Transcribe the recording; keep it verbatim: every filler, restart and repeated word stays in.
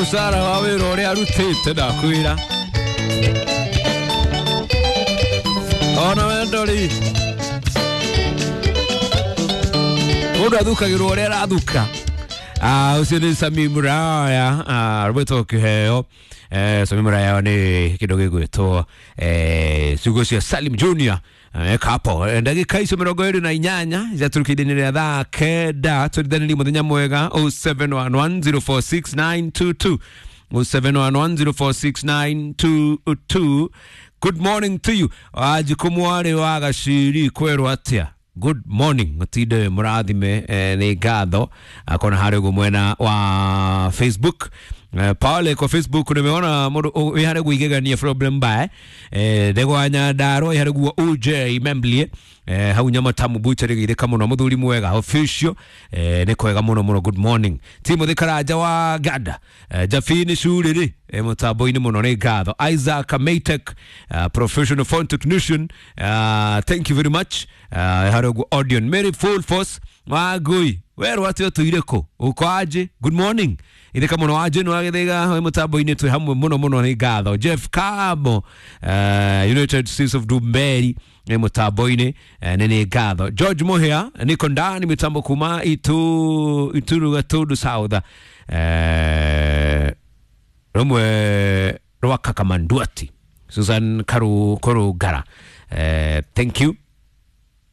Mũcara wa wĩra ũrĩa arutĩte ndakwĩra ona wendo rĩ mũndũ athukagĩrwo ũrĩa arathuka. Ah, ũcio nĩ Sami Muraya, ah, rwĩtwo kĩheo. Eh, Sami Muraya nĩ kĩndũ gĩgwĩtwo eh, ciugo cia Salim Junior eh, kapo. Eh, ndagĩka icio mĩrongo ĩrĩ na inyanya ciatũrũkĩire rĩa thaa kenda. Tũrithanĩrie mũthenya mwega oh seven one one zero four six nine two two, oh seven one one zero four six nine two two. Good morning to you. Wanjikũ mwarĩ wa Gaciri kwerwo atĩa? Good morning, mutinde murathime. eh, nĩ ngatho akona harĩ ũguo mwena wa Facebook. eh, pale kwa Facebook nimeona mũndũ wĩ harĩ guo igegania problem bae eh, ndegwa Nyandarua ĩ harĩ guo U J Memblie eh, hau Nyamatamu Butchery gĩthĩka mũno mũthuri mwega official. eh, nĩ kwega mũno mũno. Good morning Timothy Karanja wa Ganda. eh, Jafini Curĩrĩ eh, mũtambo-inĩ mũno, nĩ ngatho. Isaac Maytech, uh, professional phone technician, uh, thank you very much. uh, harĩ ũguo Odion Mary full force wangui werwo atĩ ũtũire kũ ũko aje. Good morning ithĩka mũno wanje nĩ wagĩthĩga wĩ mũtambo-inĩ twĩ hamwe mũno mũno, nĩ ngatho. Jeff Kamo, uh, United States of Dumberi nĩ mũtambo-inĩ, eh, nĩ nĩ ngatho. George Muhia niko ndani mitambo kuma itu Ituru Gatundu South, eh, rũmwe rwa Kakamanduati Susan Karu Korugara, eh, thank you.